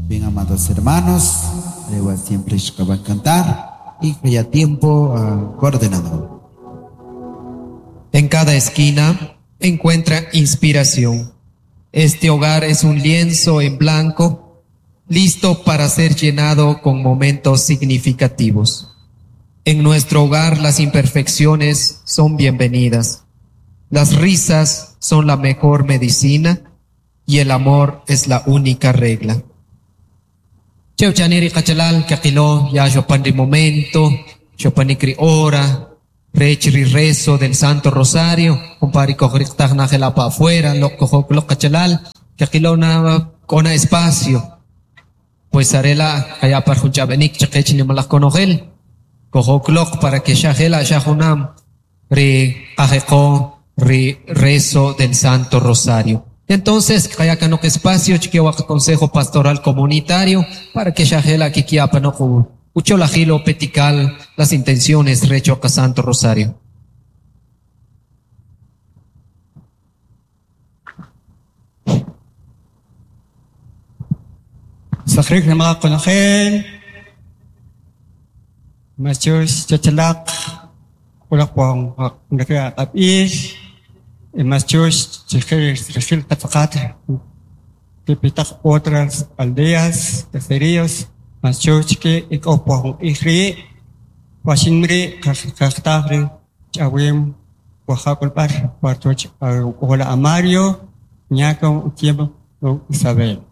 Bien, amados hermanos, alewa siempre va a cantar y que haya tiempo al coordenador. En cada esquina encuentra inspiración. Este hogar es un lienzo en blanco, listo para ser llenado con momentos significativos. En nuestro hogar las imperfecciones son bienvenidas. Las risas son la mejor medicina y el amor es la única regla. Cheu chaniri qachalal kaqilo ya xopan ri momento, xopanik ri hora, rech ri rezo del Santo Rosario, kumpari kojriqtaj na jela pa afuera, lo kojok lo qachalal, kaqilo na kona espacio. Pues arela kaya par jun ch'ab'enik chaqech nimalaj konojel, kojok para que xa jela xa junam ri qajeqo ri rezo del Santo Rosario. Entonces, kaya kanok espacio chikewa consejo pastoral comunitario para que xa jela kikiapa no ucholajilo petical las intenciones recho a Santo Rosario. Sakrik na mga konojel, Machus chachalak, kulak po ang kapis, Machus chijil katsakat, pipitak otras aldeas, caseríos, Machus que ikaw po ang ihri, wasinri, kaktakri, chawim, wahakulpar, partoch, hola Amario, ñaka, tiempo, Isabel.